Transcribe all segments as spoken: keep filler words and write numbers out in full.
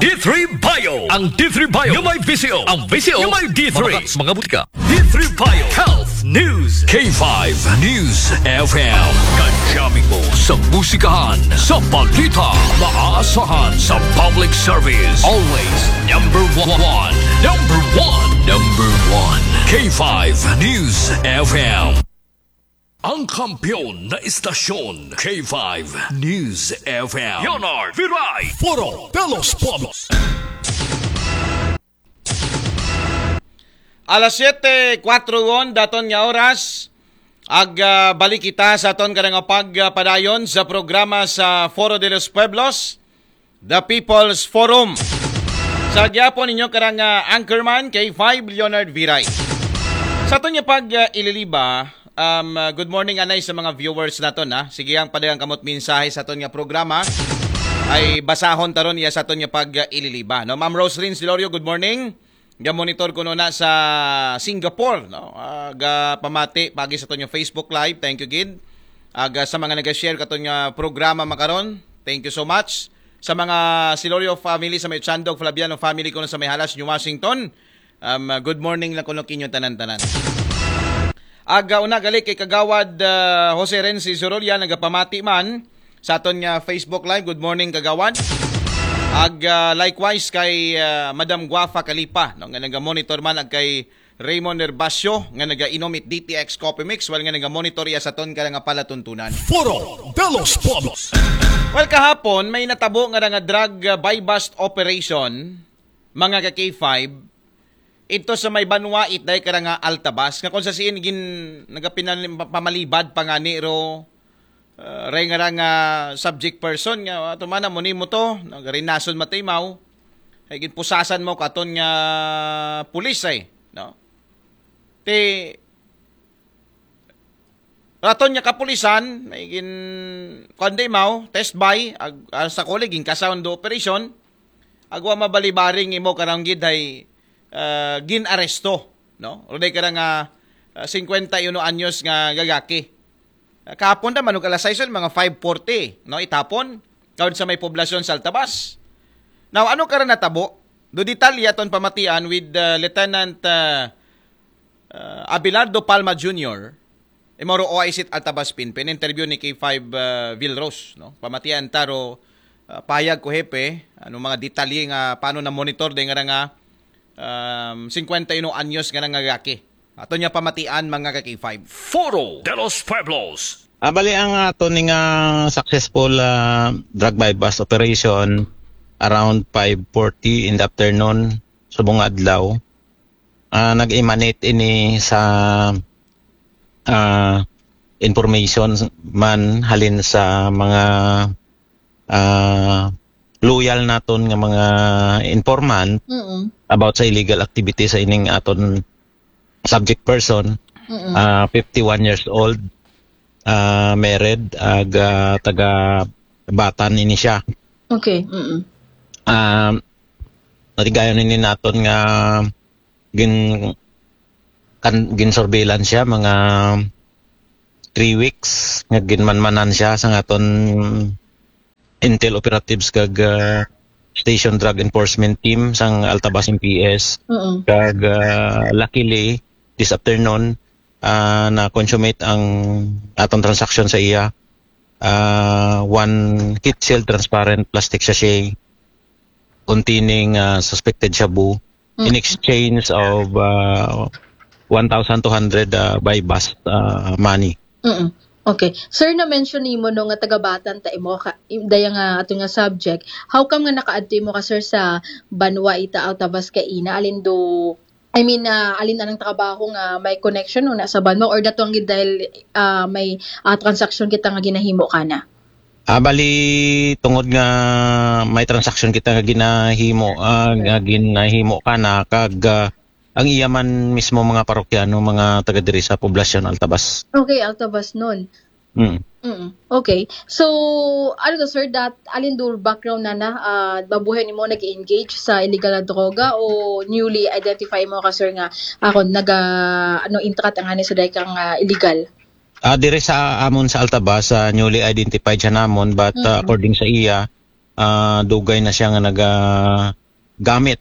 D three Bio. Ang D three Bio nga may V C O. Ang V C O nga may D three. Mabakas mga butika. D three Bio Health News. K five News F M. Kadyamin mo sa musikahan, sa balita, maaasahan sa public service. Always number one. Number one. Number one. K five News F M. Ang kampiyon na istasyon, K five News F M. Leonard Viray. Foro de los Pueblos. Alas siyete, kwatro gon daton nga oras. Ag, ah, balik kita sa aton karang pagpadayon sa programa sa Foro de los Pueblos, The People's Forum. Sa gyapon ninyo karang, ah, anchorman, K five Leonard Viray. Sa aton nga pag, ah, ililiba, um, ah, good morning anay sa mga viewers naton, ha. Sige ang padagang kamot mensahe sa aton nga programa. Ay basahon taron iya sa aton nga pag, ah, ililiba, no. Ma'am Rose Rins Delorio, good morning. Ga-monitor ko na sa Singapore, no? Ah, ga pamati pagi sa aton nga Facebook Live. Thank you gid. Aga sa mga naga-share katon nga programa makaron, thank you so much. Sa mga Silorio family, sa may Chandog Flaviano family ko na sa may Halas, New Washington, um, good morning lang kuno kinyo tanan-tanan. Aga una gali kay Kagawad, ah, Jose Renzi Zorolia, nagapamati man sa aton nga Facebook Live. Good morning, Kagawad. Ag, ah, likewise kay, ah, Madam Guafa Kalipa, no, nga naga-monitor man, ag kay Raymond Nerbacio nga naga-inom it D T X Coffee Mix, while nga naga-monitor iya sa aton karang palatuntunan. Foro de los Pueblos. Well, kahapon may natabo nga nga drug, ah, buy-bust operation, mga ka K five, ito sa may banwa it day karang Altabas, nga kung sa siin gin nagapinan pamalibad pa nga ni ro, ah, ray nga rang, ah, subject person nga, ah, tumana mo nimo to, nagarinason matimaw, ay ginpusasan mo katon nga pulis ay, no? Ti, raton nga kapulisan, may gin, kuwan di maw, test buy, ag, ah, sa kuli, gin kasawang do operasyon, agwa mabalibaring imo karang gid ay, ah, gin aresto, no? Ruday ka nga, ah, singkwenta y uno anyos nga gagaki. Ah, kahapon naman, ug alas sais, mga five forty, no? Itapon, kaud sa may poblasyon sa Altabas. Now, ano ka natabo? Do detalye aton pamatian with, ah, Lieutenant, ah, ah, Abelardo Palma Junior, imo ro O I C Altabas Pinpin, interview ni K five, ah, Vilros, no? Pamatian taro, ah, payag ko hepe, ano mga detalye nga paano na monitor de nga nga, um, singkwenta y uno anyos nga nga gaki. Ato niya pamatian mga ka K five. Foro de los Pueblos. Ah, bali ang ato ni nga successful, ah, drug buy-bust operation around five forty in the afternoon, subong adlaw. Ah, nag-emanate ini sa, ah, information man halin sa mga, ah, loyal naton nga mga informant Mm-mm. about sa illegal activity sa ining aton subject person. Mm-mm. Ah, fifty-one years old, ah, married, ag, ah, taga Batan ini siya. Okay. Mm-mm. Ah, natigayon ini naton nga gin-, kan-, gin-surveillance siya mga three weeks nga ginmanmanan siya sa aton intel operatives kag, ah, Station Drug Enforcement Team sang Altabas M P S. Mm-mm. Kag, ah, luckily, this afternoon, ah, na-consummate ang atong transaction sa iya. Ah, one heat-sealed transparent plastic sachet containing, ah, suspected shabu in Mm. exchange of, ah, one thousand two hundred, ah, buy-bust, ah, money. Mm-mm. Okay. Sir, na-mention nimo, no, nga taga Batan ta imo ka, im-, daya nga ato nga subject. How come nga nakaadto imo ka, sir, sa banwa ita Altabas kaina? Alin do, I mean, ah, alin anang trabaho nga may connection, no, na sa banwa, or datong gid dahil, ah, may, ah, transaction kita nga ginahimo kana? Ah, bali, tungod nga may transaction kita nga ginahimo, ah, nga ginahimo kana, kag, ah, ang iya man mismo mga parokyano, mga taga diri sa poblasyon Altabas. Okay, Altabas nun. Mm. Mm. Okay. So, ano to, sir, that, alin do background na na, ah, mabuhay nimo nag-engage sa illegal na droga o newly identify mo ka, sir, nga ako naga, ano, intrat ang ani sa daykang, ah, illegal? Ah, dire sa amon sa Altabas, ah, newly identified siya namon, but, ah, Mm-mm. according sa iya, ah, dugay na siya nga nagagamit.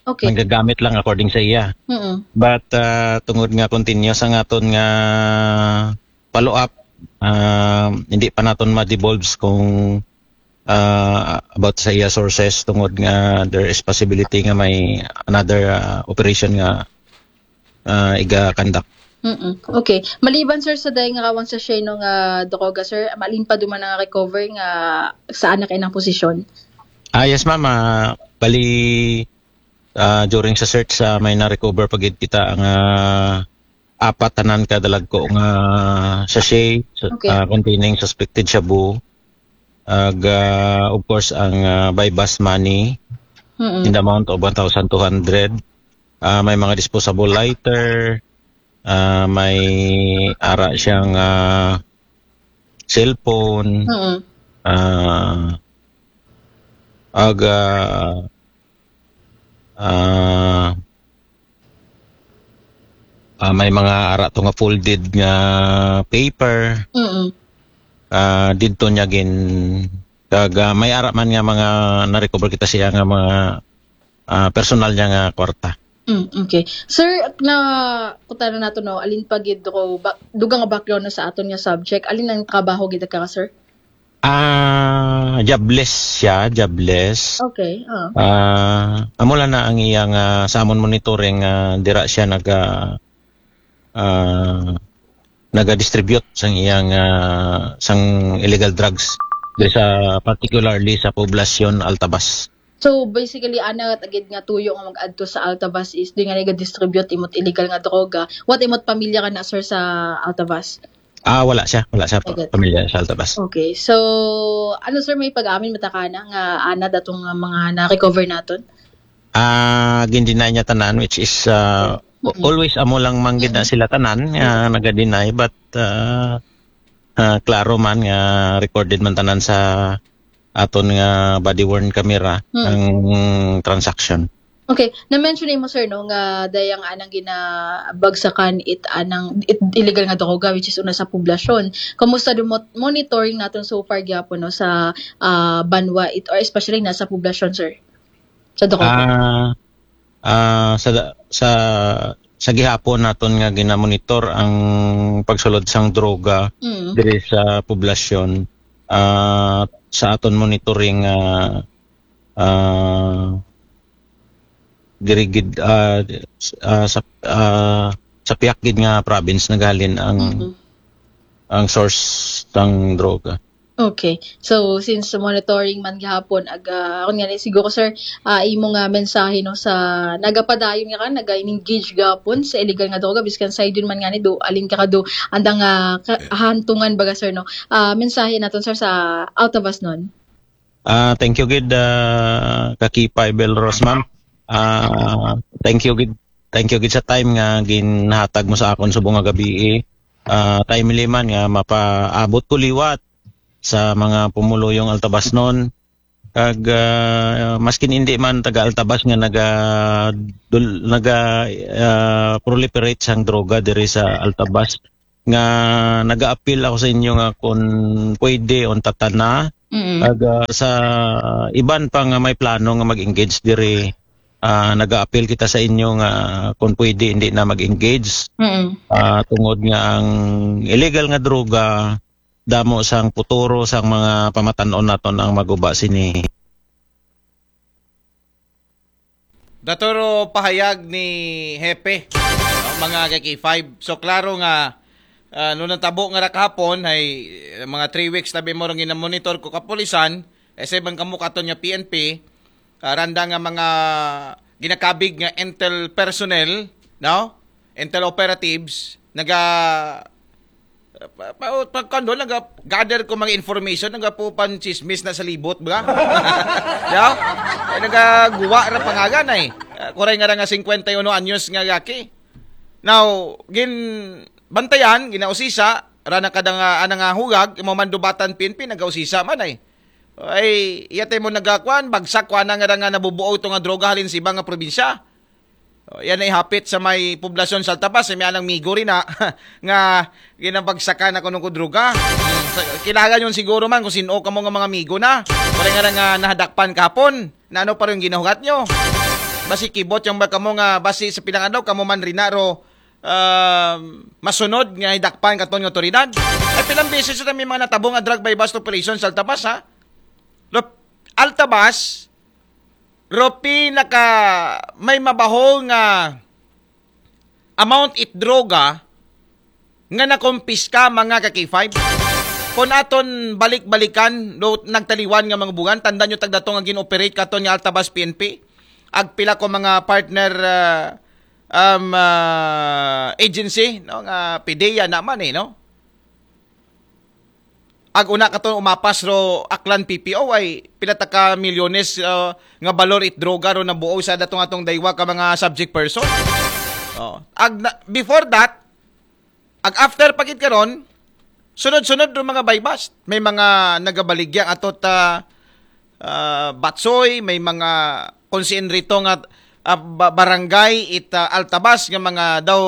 Okay. Nagagamit lang according sa iya. Mm-mm. But ah, tungod nga continuous ang aton nga follow-up, ah, hindi pa naton ma-divulge kung ah, about sa iya sources tungod nga there is possibility nga may another ah, operation nga ah, iga-conduct. Mm-mm. Okay. Maliban, sir, sa dayang rawan sa sheno nga droga, sir, malin pa duman nga recover nga saan na kayo ng posisyon? Ah, yes, ma'am. Ah, bali, ah, during sa search, ah, may na-recover pa gid kita ang ah, apat tanan ka dalagko nga sachet Okay. ah, containing suspected shabu. Ag, ah, of course, ang ah, buy-bust money Mm-mm. in the amount of one thousand two hundred. Ah, may mga disposable lighter, ah, may ara siyang ah, cellphone, Mm-mm. ah, ag, ah, ah, ah, may mga ara to nga folded nga paper. Mm-mm. Ah, didto niya gin kag ah, may ara man nga mga na-recover kita siya nga mga ah, personal niya nga kwarta. Mm, okay. Sir, na kutana nato, no, alin pa gid ko ba, dugang nga background, no, sa aton nga subject? Alin ang trabaho gid ka, sir? Ah, jobless siya, jobless. Okay. Ah. Ah, amo lang na ang iyang ah, sa amon monitoring ah, dira siya naga ah, naga-distribute sang iyang ah, sang illegal drugs diri sa particularly sa poblasyon Altabas. So basically, ana ra gid nga tuyo nga mag-adto sa Altavas is di nga nag-distribute imot illegal nga droga. What imot pamilya ka na, sir, sa Altavas? Ah, wala siya, wala siya pa- Okay. pamilya sa Altabas. Okay. So ano, sir, may pag-amin mata ka na nga ana datong nga mga na-recover naton? Ah, gin-deny niya tanan, which is ah, Mm-mm. always amo lang man gid na sila tanan nga naga-deny, but ah, ah, klaro man nga recorded man tanan sa aton nga body worn camera Mm. ang transaction. Okay, na-mention mo, sir, no, nga dayang anang ginabagsakan it anang it illegal nga droga, which is una sa poblasyon. Kumusta do mo- monitoring naton so far gyapon, no, sa ah, banwa it, or especially na sa poblasyon, sir? Sa droga. Ah, ah, sa sa sa gihapon naton nga ginamonitor ang pagsulod sang droga Mm. diri sa poblasyon, ah, sa aton monitoring ah, ah, diri gid ah, s- ah, sa ah, sa piyak gid nga province naghalin ang Mm-mm. ang source sang droga. Okay. So since monitoring man gihapon, aga, akon nga ni siguro, sir, ah, imo nga mensahe, no, sa nagapadayon nga ka, naga-engage gapon sa illegal nga droga, biskan sa idun man nga ni do alin ka do andang ah, ka- hantungan baga, sir, no? Ah, mensahe naton, sir, sa Altavas non. Ah, thank you gid ah, Kakipa Ibel Rose, ma'am. Ah, thank you gid, thank you gid sa time nga ginhatag mo sa akon subong nga gabii. Ah, timely man nga mapaabot ko liwat sa mga pumuluyong Altabasnon. Kag ah, maskin hindi man taga Altabas nga naga dul, naga ah, proliferate sang droga diri sa Altabas, nga nagaapil ako sa inyo nga kung pwede, unta ta na. Mm. Kag ah, sa iban pa nga may plano nga mag-engage diri, ah, nagaapil kita sa inyo nga kung pwede hindi na mag-engage. Mm. Ah, tungod nga ang illegal nga droga damo sang puturo sang mga pamatan-on naton ang maguba sini. Daturo pahayag ni Hepe, no, mga ka-K five. So klaro nga ah, no natabo nga ra kahapon ay eh, mga three weeks tabi mo rong ginamonitor ko kapulisan, eh, sa ibang kamukaton nga P N P, ah, randa nga mga ginakabig nga intel personnel, no? Intel operatives, naga pa, pa, pa, kuwan doon, naga gather ko mga information, naga po pan chismis na sa libot, ba? Yeah? Eh, nagaguwa ra pangagan ay. Ah, kuray nga ra nga cincuenta y uno anyos nga gaki. Now, gin bantayan, ginausisa, rana kada nga ana nga hugag, imo man dubatan P N P, nagausisa man ay. Ay, iyatay mo nagakwan, bagsak kwa na nga ra nga nabubuo ito nga droga halin sa iba nga probinsya. O, yan ay hapit sa may poblasyon sa Altabas, may anang migo rin na nga ginabagsakan ako ng kudruga. Sa- Kilala nyo siguro man kung sino ka mga mga migo na. Wala nga nga nahadakpan kapon. Na ano pa rin ginahugat nyo? Basi kibot yung ba kamo nga basi sa pilang adlaw kamo man rin na ro ah, masunod nga hidakpan katon nga otoridad. Ay pilang beses na may mga natabong nga drug buy-bust operation sa Altabas, ha? Lo, Altabas, ro pinaka may mabaho nga amount it droga nga nakumpiska mga ka K five. Kung aton balik-balikan, do, nagtaliwan nga mga bugan, tanda nyo tagdato nga gin-operate katon nga Altabas P N P. Agpila ko mga partner ah, um, ah, agency, no, nga PDEA naman eh, no? Ag una katon umapas ro Aklan P P O ay pila ta ka milyones ah, nga balor it droga ro nabuo sa datong atong daywa ka mga subject person. Oh. Ag na- before that, ag after pa gid karon, sunod-sunod ro mga buy-bust. May mga nagabaligya ato ta ah, Batsoy, may mga kung siin rito nga ah, ba- barangay it ah, Altabas nga mga daw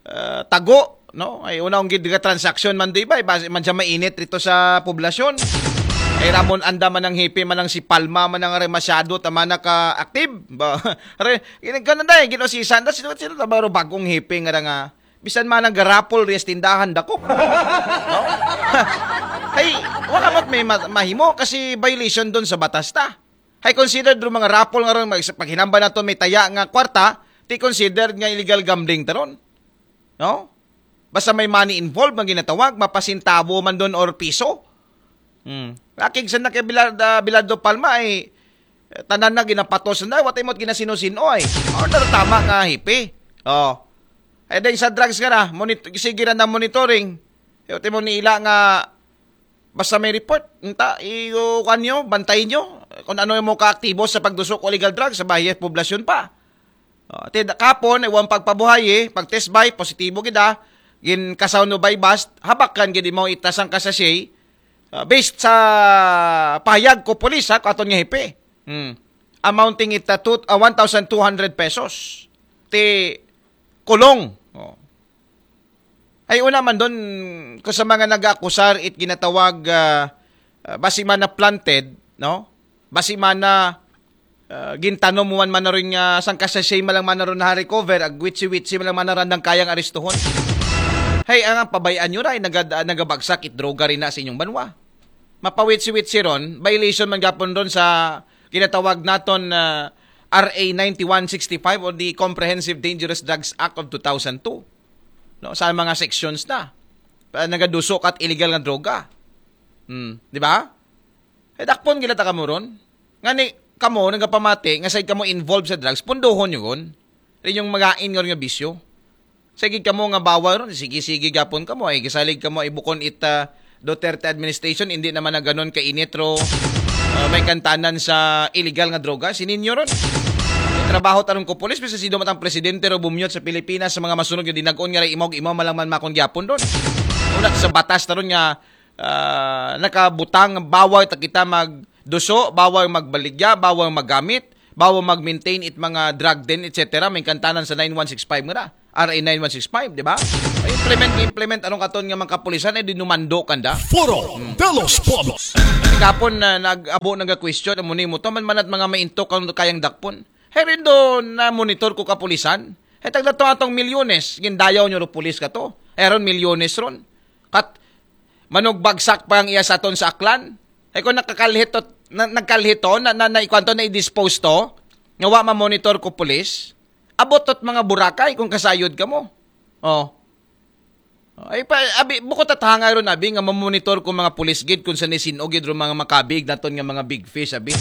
ah, tago, no? Ay una ang gid nga transaksyon man di ba? Base man siya mainit rito sa poblasyon. Ay Ramon anda man ang hipi man ang si Palma man ang re masyado tama na ka active. Ba, re, ganun na eh, ginosisan na sino sino na baro bagong hipi nga nga bisan man ang garapol riyas tindahan dako. No? Ay, wala mat may ma- mahimo kasi violation doon sa batas ta. Hay considered ro mga raffle nga ron mag- paghinamba nato may taya nga kwarta, ti considered nga illegal gambling taron. No? Basta may money involved nga ginatawag, mapasintabo man doon or piso. Hmm. Lakig sa na kay Bilad, ah, Bilardo Palma ay eh, tanan na ginapatos na, watay mo ginasino-sino ay. Or na tama nga hipi. Oh. Ay dahil sa drugs nga na, monit- sige na na monitoring. Eh, watay mo niila nga basta may report, nta, i-, o, kuwan nyo, bantayin nyo kung ano yung mga kaaktibo sa pagdusok o illegal drugs sa bahiyas poblasyon pa. O, ti, kapon, iwan pagpabuhay eh, pag test by, positibo gid ah, gin kasaw no by bust, habakan gid mo itasang kasasay, ah, based sa pahayag ko pulis ha, katon nga hipi. Hmm. Amounting it uh, two, uh, one thousand two hundred pesos. Ti kulong. Oh. Ay una man doon ko sa mga nag-akusar it ginatawag ah, ah, basi man na planted, no? Basi man na ah, gintanom mo man man na rin nga sangka sachet man lang man na rin na-recover, ag witsi-witsi man lang man na rin ang kayang aristuhon. Hay, ang, ang pabayaan nyo ray, nagad, ah, nagabagsak it droga rin na sa inyong banwa. Mapawitsi-witsi ron, violation man gapon ron sa ginatawag naton na R A ninety-one sixty-five or the Comprehensive Dangerous Drugs Act of two thousand two. No, sa mga sections na. Pa- Nagaduso ka at illegal nga droga. Hmm, di ba? Eh, dakpon gila ta kamo ron. Nga ni, kamo, nagapamati, nga sa'y kamo involved sa drugs, pundohon nyo ron. Rin yung magain nga ron nga bisyo. Sige kamo nga bawal ron, sige-sige gapon kamo, ay gisalig kamo, ay bukon ita Duterte administration, hindi naman na ganon kainit ro. Ah, may kantanan sa illegal nga droga, sininyo ron. Trabaho tarong ko pulis, bisa si dumatang presidente ro bumyot sa Pilipinas sa mga masunod nga dinagon nga ray imaw-imaw malang man makon gyapon ron. Una sa batas taron nga ah, nakabutang bawal ta kita magduso, bawal magbaligya, bawal maggamit, bawal mag-maintain it mga drug den, et cetera. May kantanan sa nine one six five nga na. R A nine one six five, di ba? Ay, implement, implement anong katon nga mga kapulisan ay dinumando kanda. Foro de los Pueblos. Kapon na nag-abo nga question mo ni mo taman manat mga mainto kang kayang dakpon. Herindo na monitor ko kapulisan. Hetag na to atong milyones, gindayaw nyo ro pulis ka to. Eron milyones ron. Kat manugbagsak pa ang iya sa aton sa Aklan. Ay kung nakakalhito, na, nagkalhito, na, na, na ikwanto na i-dispose to, nga wa ma-monitor ko pulis, abot tot mga Boracay kung kasayod ka mo. Oh. Ay pa, abi, bukod at hangay ron, abi, nga mamonitor ko mga pulis gid kung sa nisin-o gid ron mga makabig naton nga mga big fish, abi.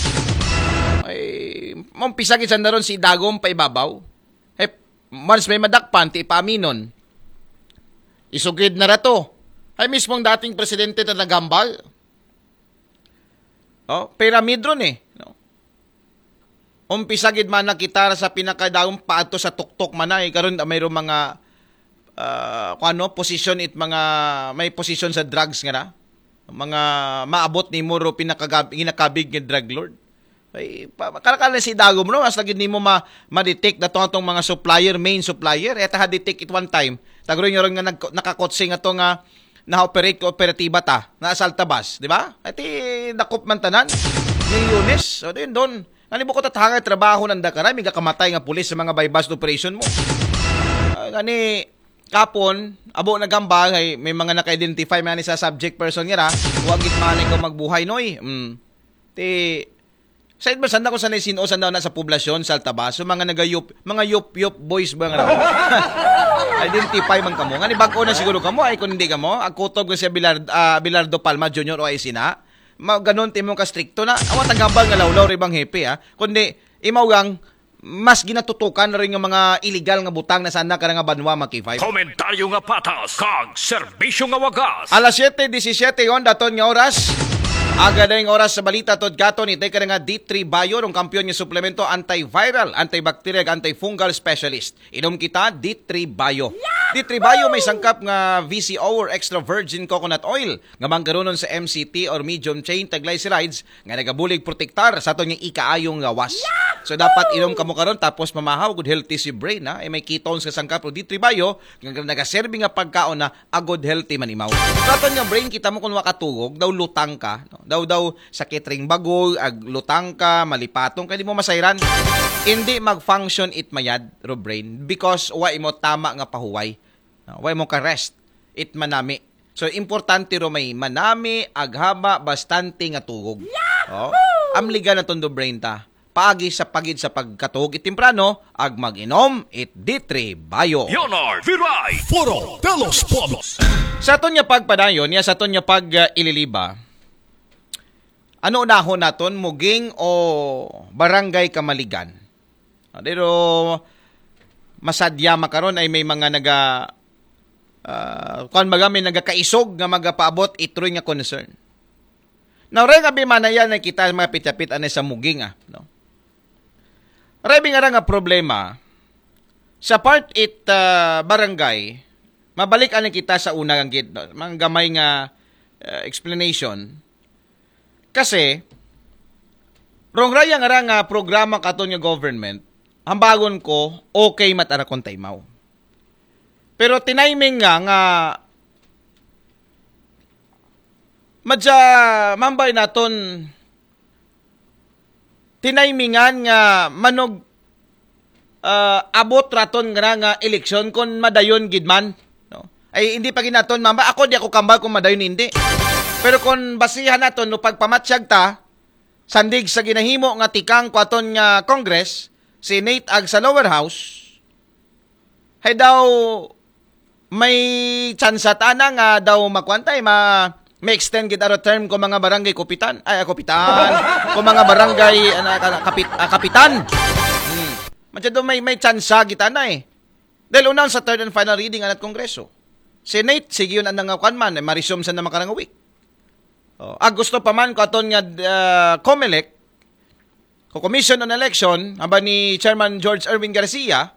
Ay, mampisa gid sa naron si Dagom pa ibabaw. Ay, once may madakpan, ti ipaaminon. Isugid na rato. Ay, mismong dating presidente na nagambal. Oh, pyramid ron eh. No? Umpisa gid man na kita sa pinakadaong paadto sa tuktok man ay karon mayroong mga ah, kung ano, position it mga may position sa drugs nga na. Mga maabot ni Moro pinakagab ginakabig nga drug lord. Ay, pa, kala-kala si dagom, no? As lagi nimo ma, ma-detect na to atong mga supplier, main supplier. Eta ha-detect it one time. Tagroy nyo ron nga nag, nakakotsing ato nga na-operate ko operatiba ta, na Saltabas, di ba? Ati dakop man tanan. Milyones. O din doon. Ngani bukod at hangay trabaho ng dakaray, may kamatay nga pulis sa mga buy-bust operation mo. Ah, ngani, kapon, abo nagambal, ay may mga naka-identify man ni sa subject person nga ra, huwag gitmanay ko magbuhay, noy. Mm. Ti, sa iba, sanda ko sanay sino, sanda na sa poblasyon, sa Altabas, so mga nagayup, mga yup-yup boys ba nga raw? Identify man kamo. Ngani bag-o na siguro kamo, ay kung hindi kamo, agkutob ko si Abelardo, ah, Abelardo Palma Junior o ay sina, ma, ganun timong kastrikto na, awat ang gambal nga lawlaw rin bang hepe, ha? Kundi, imaw gang, mas ginatutukan na rin yung mga illegal nga butang na sana ka nga banwa, mga K five. Komentaryo nga patas, kag serbisyo nga wagas. Alas siyete disisiyete yon daton nga oras. Aga na yung oras sa balita, tod katon, itay ka na nga D three Bio, ng kampiyon nga suplemento, antiviral, antibacterial, antifungal specialist. Inom kita, D three Bio. D three Bio may sangkap nga V C O or extra virgin coconut oil nga manggarunon sa M C T or medium chain triglycerides nga nagabulig protektar sa aton nga ikaayong gawas. So dapat inom kamo karon tapos mamahaw, good healthy si brain, ha. Ay may ketones nga sangkap, D three Bio, nga nagaserbi nga pagkaon na a good healthy man imaw. Sa aton nga brain, kita mo kung wakatugog, daw lutang ka, no? Daw, daw sakit ring bagol, ag lutang ka, malipatong, kaya di mo masayran. Hindi mag-function it mayad, ro brain, because wa imo tama nga pahuway. No? Wa imo ka rest it manami. So, importante ro may manami, aghaba, bastante nga tugog. Oh? Amligan na tondo brain ta. Paagi sa pagid sa pagkatulog it temprano, ag mag-inom it D three Bio. Leonard Viray. Foro de los Pueblos. Sa aton nga pagpadayon, niya sa aton nga pag-ililiba, ano unahon naton, Muging o Barangay Kamaligan? Ah, pero masadya makaron ay may mga naga, ah, kuwan baga, may nagakaisog nga magapaabot itroy nga concern. Now, ray nga bimanayan na kita mga pitapit anay sa Muging, ah, no? Ray bingara nga problema, sa part it, ah, barangay, mabalik anay kita sa una ang gid, no? Mga gamay nga, ah, explanation. Kasi, rong raya nga ra nga programa katon nga government, hambagon ko, okay matara kung taimaw. Pero tiniming nga, nga, madya, mambay naton, tinimingan nga manog, ah, abot raton nga, nga eleksyon kung madayon gid man, no? Ay, hindi pa ginaton, mamba, ako di ako kambal kung madayon, hindi. Pero kung basihan naton, no, pagpamatsyag ta, sandig sa ginahimo nga tikang kwaton nga Congress, Senate ag sa lower house, hay daw may tsansa ta na nga daw makuan tay ma, may extend gid aro term ko mga barangay kapitan, ay, ah, kapitan, ko mga barangay, ana, ka, kapit, ah, kapitan. Hmm. Masyado may, may tsansa gid ana eh. Dahil unang sa third and final reading anat Kongreso. Senate, sige yun ang nangakuan man, eh, ma-resume sa na makarang week. Oh, ah, gusto pa man ko aton nga, ah, Comelec, ko Commission on Election, haba ni Chairman George Erwin Garcia,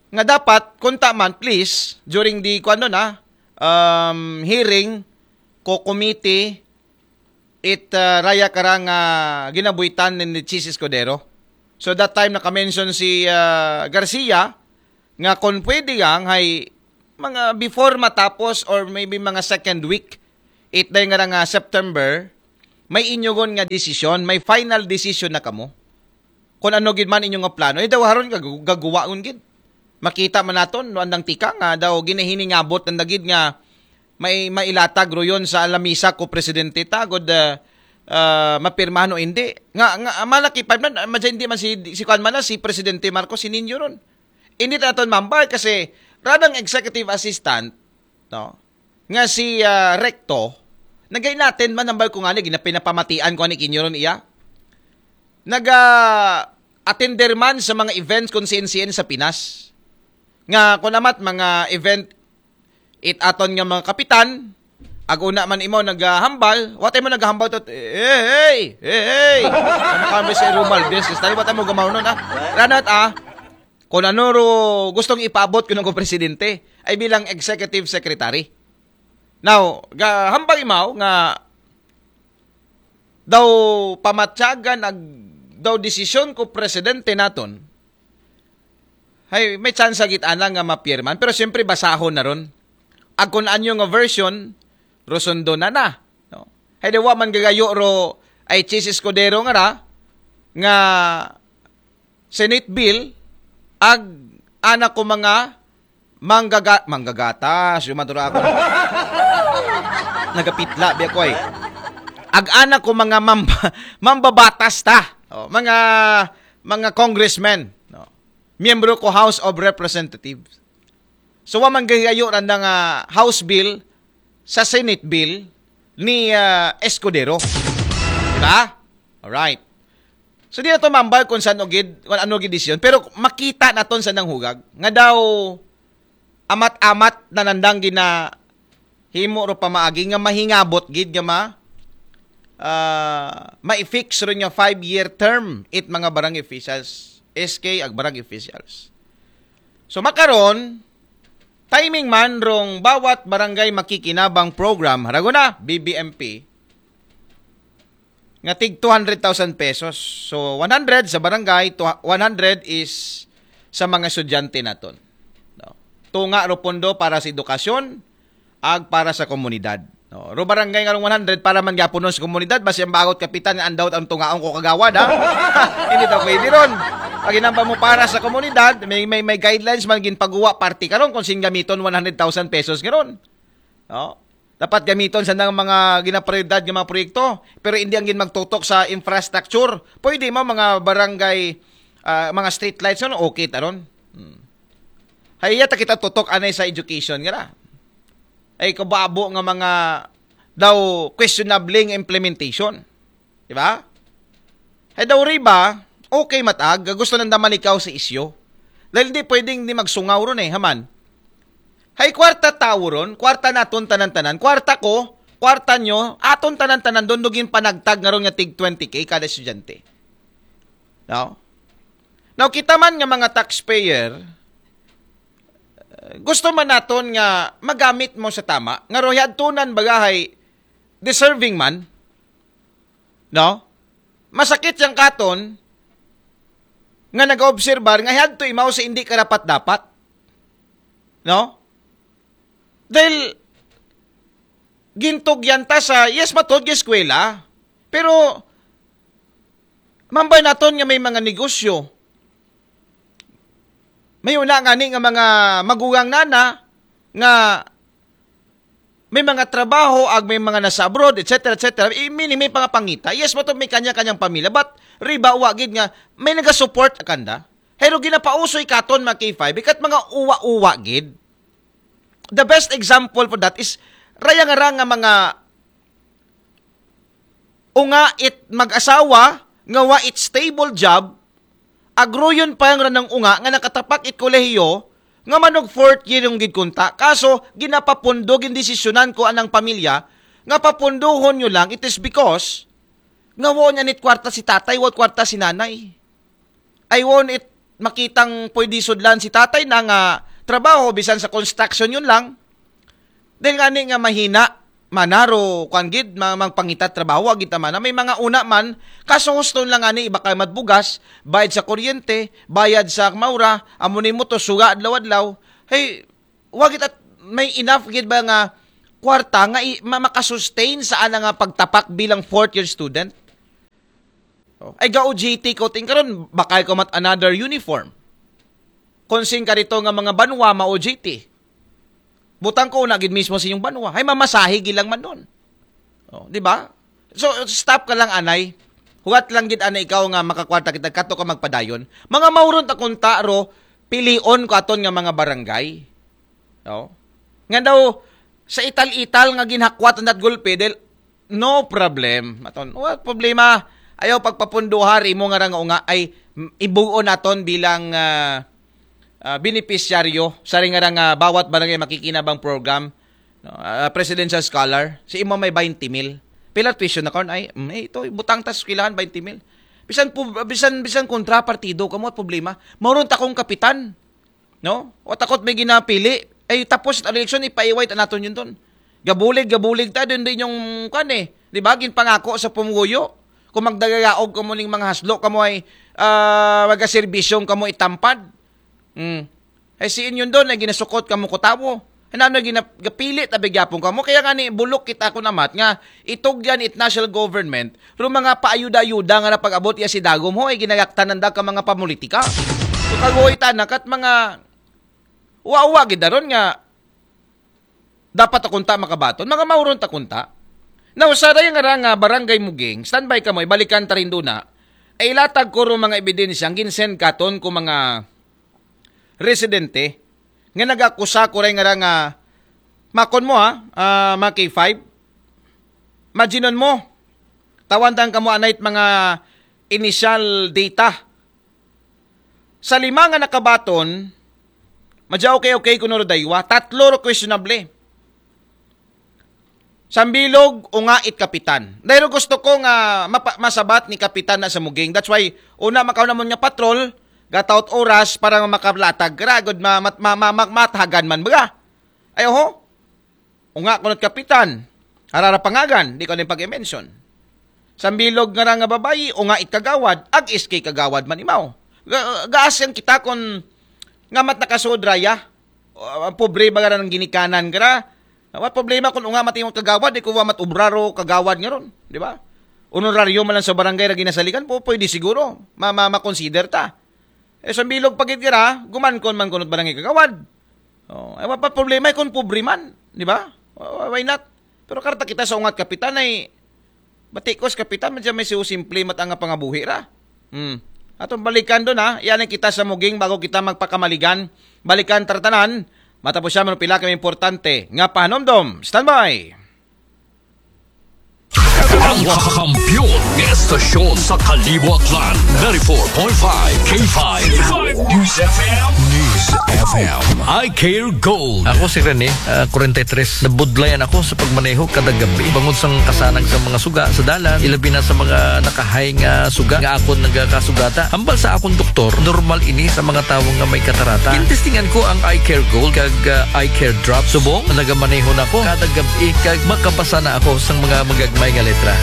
nga dapat, kung ta man, please, during the, kung ano na, um, hearing, ko committee, it, uh, raya karang, uh, ginabuhitan ni Chiz Escudero. So that time, naka-mention si, uh, Garcia, nga kung pwede yang, hay, mga before matapos or maybe mga second week, it day nga nga September, may inyugon nga desisyon, may final decision na kamo. Kung ano gid man inyo nga plano, eh, daw haron gag-, gaguwaon gid. Makita man naton, no, andang tika nga daw ginahiningabot ang dagid nga may mailatag royon sa lamisa ko presidente ta, gud, ah, ah, mapirmahan o hindi. Nga, nga, malaki pa man, ah, madya hindi man si, si kuan man na, si Presidente Marcos, sininyo ron. Hindi ta naton mambay kasi radang executive assistant, no, nga si, ah, Recto, nagay natin man, nambay ko nga ni, ginapinapamatian ko ni kinyo ron iya. Naga-attender man sa mga events kung siin-siin sa Pinas. Nga, kung amat, mga event, it aton nga mga kapitan, ag una man imo naghambal, watay mo naghambal to, eh, hey, eh, hey. Ano kami si Romualdez, kasi tayo watay mo gamaw nun, ah. Ranat, ah, kung ano ro gustong ipaabot ko ng presidente, ay bilang executive secretary. Now, ga, hambal imaw nga daw pamatyagan ag daw desisyon ko presidente naton, hay may tsansa gid ana nga mapirman. Pero siyempre, basahon na ron. Ag kun anyo nga version, ro sundon na na. No? Hay di wa man gagayo ro ay Chiz Escudero nga ra, nga Senate bill, ag ana ko mga manggaga-, manggagatas, yung matura ako. Nagapitla, biya ko eh. Ag ana ko mga mamba-, mambabatas ta. Oh, mga, mga congressmen. No? Miyembro ko House of Representatives. So, wa man gahigayo randa nga House bill sa Senate bill ni ah, Escudero. Diba? Alright. So, di na to mambal kung saan gid, kung ano gid desisyon. Pero makita naton sa nang hugag. Nga daw, amat-amat na nandang gina himo ro pamaagi nga mahingabot gid nga ma ah, ma-fix ron nga five-year term it mga barangay officials, S K ag barangay officials. So makaron, timing man rong bawat barangay makikinabang program, harago na, B B M P, nga tig two hundred thousand pesos. So, one hundred sa barangay, to-, one hundred is sa mga estudyante naton. No? Tunga ro pondo para sa edukasyon, ag para sa komunidad. No? Ro barangay nga rong one hundred para man gyapon sa komunidad, basi ang bagot kapitan nga andawt ang tungaon ko kagawad, ha? Hindi daw pwede ron. Pag hinambal mo para sa komunidad, may, may, may guidelines man ginpaguwa party karon kung sin gamiton one hundred thousand pesos nga ron. No? Dapat gamiton sa nang mga ginaprioridad nga mga proyekto, pero hindi ang gin magtutok sa infrastructure. Pwede mo mga barangay, ah, mga street lights, ano, okay taron. Hmm. Hay iya ta kita tutok anay sa education nga ra. Ay kababo nga mga daw questionable nga implementation. Di ba? Hay daw riba, okay matag, gusto nanda malikaw sa isyu. Dahil di pwedeng di magsungaw ron eh, haman. Hay kwarta tawo ron, kwarta naton tanan-tanan, kwarta ko, kwarta nyo, aton tanan-tanan, doon dugin panagtag nga ron nga tig twenty K kada estudyante. No? Now, kita man nga mga taxpayer, eh, gusto man naton nga magamit mo sa tama, nga rohyadtunan bagahay deserving man, no? Masakit yang katon nga nag-obserbar nga hadto imaw sa hindi karapat-dapat. No? Dahil gintugyan ta sa, yes, matod nga eskwela. Pero, mambay naton nga may mga negosyo. May una nga ni nga mga magugang nana nga may mga trabaho, ag may mga nasa abroad, et cetera, et cetera. I-, meaning, may mga pangita. Yes, matod may kanya-kanyang pamilya. But, riba, wa gid nga, may nagasupport kanda. Pero ginapausoy katon, mga K five, ikat mga uwa-uwa gid. The best example for that is, raya nga ra nga mga unga it mag-asawa, nga wa it stable job, agruyon pa yang ranang unga nga nakatapak it kolehiyo, nga manog fourth year yung gid kunta. Kaso, ginapapundo, gindesisyonan ko anang pamilya, nga papunduhon nyo lang, it is because, nga woon anit kwarta si tatay, woon kwarta si nanay. Ay woon it makitang pwede sudlan si tatay na nga trabaho, bisan sa construction yun lang. Dahil nga ni nga mahina, manaro, kwan gid, ma-, magpangita trabaho, agita man. May mga una man, kaso husto lang nga ni, iba kay madbugas, bayad sa kuryente, bayad sa maura, amo ni mo to, suga adlaw-adlaw. Hey, wag it at may enough gid ba nga kwarta nga i-, ma-, makasustain sa ana nga pagtapak bilang fourth year student? Oh. Ay, ga-O J T ko, ting karon, bakay ko mat another uniform. Konsing ka rito nga mga banwa, ma-O J T. Butang ko na gid mismo sa inyong banwa. Ay, mamasahe gilang man nun. Oh, di ba? So, stop ka lang, anay. Huwat lang gid, anay, ikaw nga makakwarta kita, kato ka magpadayon. Mga mauron ta kunta ro, pilion ko aton nga mga barangay. No? Nga daw, sa ital-ital nga ginhakwat ang gulpe, dahil no problem. Aton, what problema? Ayaw pagpapunduhar, imo nga ra nga unga, ay, m-, ibuon naton bilang ah, ah, benepisyaryo sa ring nga ra nga bawat barangay makikinabang program, no? Ah, presidential scholar, si imo may twenty mil. Pila tuition na karon ay, mm, eh, ito, butang ta sa eskwelahan, twenty mil. Bisan pu-, bisan, bisan kontra partido, kamo at problema. Mauron ta kong kapitan. No? O takot may ginapili. Ay, tapos at eleksyon, ipaiway ta naton yun ton. Gabulig, gabulig ta, din din yung, kan eh. Di ba? Ginpangako sa pumuyo. o magdagayaog kamo ning mga haslo, kamo ay, ah, magaserbisyong kamo itampad. Hmm. Ay si inyo doon ay ginasukot kamo ko tawo. Ano na ginapili tabi gyapon kamo? Kaya nga ni bulok kita ko namat nga itugyan it national government ro mga paayuda-ayuda nga napag-abot iya si dagom ho ay ginagaktanan da ka mga pamulitika. So kagoy ta na kat mga uwa-uwa gid daron nga dapat akunta makabaton, mga mauron ta kunta. Now, sa daya nga ra nga barangay Muging, standby kamo, ibalikan ta rin doon na, ay ilatag ko ro mga ebidensya, ang ginsend katon ko mga residente, nga nagakusa ko rin nga ra nga, makon mo ha, ah, mga K five, imaginon mo, tawantan kamo anay't mga initial data. Sa lima nga nakabaton, madya okay-okay kuno ro daywa, tatlo ro questionable. Sambilog, unga it kapitan. Dahil gusto ko nga mapa- masabat ni kapitan na sa Muging. That's why, una makauna mo nga patrol, gataot oras para makalatag. Kara, gud ma- mat- ma- ma- ma- matahagan man baga. Ay, oho. Unga kuno't kapitan. Harara pangagan, di ko na pag-mention. Sambilog nga ra nga babayi, unga it kagawad, ag S K kagawad man imaw. Ga- gaas yang kita kon nga mat nakasud raya. Ah, pobre ba nga ra ng ginikanan ka ra? What problema kung unga mat imong kagawad, di ko wa mat obraro kagawad nga ron, di ba? Honoraryo man lang sa barangay ra ginasaligan, po, pwede siguro. Ma, ma, ma-consider ta. Eh, sambilog pagid ka ra, guman kon man kunot barangay kagawad. Oh, ay, wa pa problema kung pobre man, di ba? Why not? Pero karta kita sa ungat kapitan ay batikos kapitan, medyo may siyo simple matanga pangabuhi ra. Hmm. Atong balikan doon ha, iyan kita sa Muging bago kita magpakamaligan. Balikan tartanan, matapos siya pila kami importante nga pahanomdom. Standby! Ang kampiyon ng estasyon sa Kalibo Aklan, ninety-four point five K five News F M. News F M. I Care Gold. Ako si Rene, uh, forty-three. Nabudlayan ako sa pagmaneho kada gabi. Bangod sang kasanag sa mga suga sa dalan, ilabi na sa mga nakahay nga suga nga akon nagakasugata. Hambal sa akong doktor, normal ini sa mga tawo nga may katarata. Gintestingan ko ang Eye Care Gold kag uh, Eye Care Drop. Subong, nagamaneho na ko kada gabi kag makabasa na ako sang mga magagmay nga letra.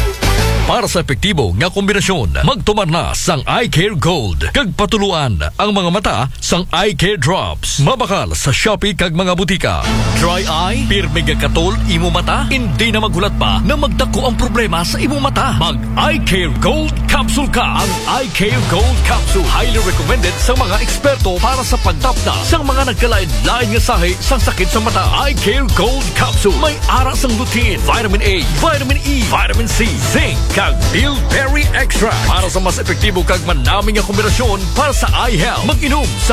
Para sa epektibo nga kombinasyon, magtumar na sang Eye Care Gold kag patuluan ang mga mata sang Eye Care Drops. Mabakal sa Shopee kag mga butika. Dry eye, pirmi nga katol imo mata, hindi na maghulat pa na magdako ang problema sa imo mata. Mag Eye Care Gold Capsule ka. Ang Eye Care Gold Capsule highly recommended sa mga eksperto para sa pagtapda sa mga nagkalain-lain nga sahi sang sakit sa mata. Eye Care Gold Capsule may ara sang lutein, vitamin A, vitamin E, vitamin C, zinc, kag bilberry extract para sa mas epektibo kag manami nga kombinasyon para sa eye health. Mag-inom sa